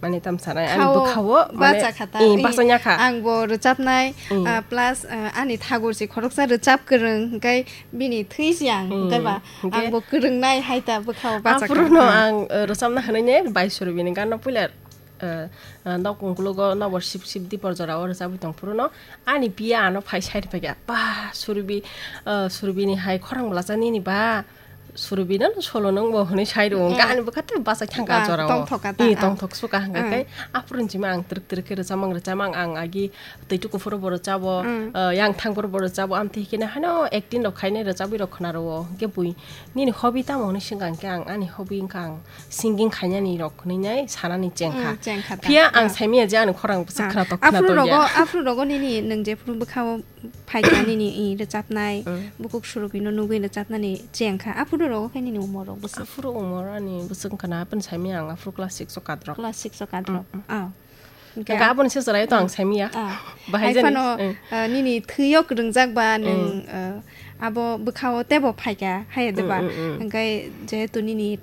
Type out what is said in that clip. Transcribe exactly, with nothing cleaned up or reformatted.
Ani tamsanai, ani bwkhao mane, bacha kha ta, eh, bacha nya kha. Ang bo rwchapnai, ah, plus, ah, ani thagur si khoroksa rwchap kwrwng, hwnkhe bini thwi si ang, hwnkhe ba, ang bo kwrwngnai hai ta bwkhao bacha kha. Aphuru no ang, eh, rwchapna hwnwi ne bai Surbini gano puila, eh, eh, nok ungkulugo nobor sip sip dipor jorao rwchapwi tong phuru no ani piya ano phai side phaikha, "Ba, Surbi, eh, Surbini hai khorang bwlacha nini ba?" Surbino no solo nung bo hwnwi sai rwo, hwnkhe ani bwkha tei bachai thangkha jorao. Tongthok kha ta, ih, tongthok suka hwnkha khe aphuru ni simi ang twrwk twrwk khe rwchapmang rwchapmang ang agi twi tuku phuru bo rwchabo, yang thang phuru bo rwchabo, amtwi hwnkhe haino acting rok khainai rwchabwi rok khna rwo, hwnkhe bui nini hobby tamo hwnwi swngkha hwnkhe ang ani hobby wngkha ang singing khainani rok hwnwi nai sanani chengkha. Phiya ang saimanya je ani khorang bwswk khna tok khna tongya. Aphuru rogo nini nwng jephuru bwkhao phaikha nini, i, rwchapnai, bukhuk Surubino nugwi rwchapnani chengkha. Aphuru rogo khe nini umor rok bwswk? Aphuru umor ani bwswk wngkha na, apni saimanya ang aphuru class six o kadrok. Class six o kadrok. Ah. Hwnkhe aboni se chwraio to ang saimanya. Bahai jani. Haiphano, ah, nini thwio kwrwngjak ba nwng, ah, abo bwkhao teibo phaikha, hai de ba? Hwnkhe jehetu nini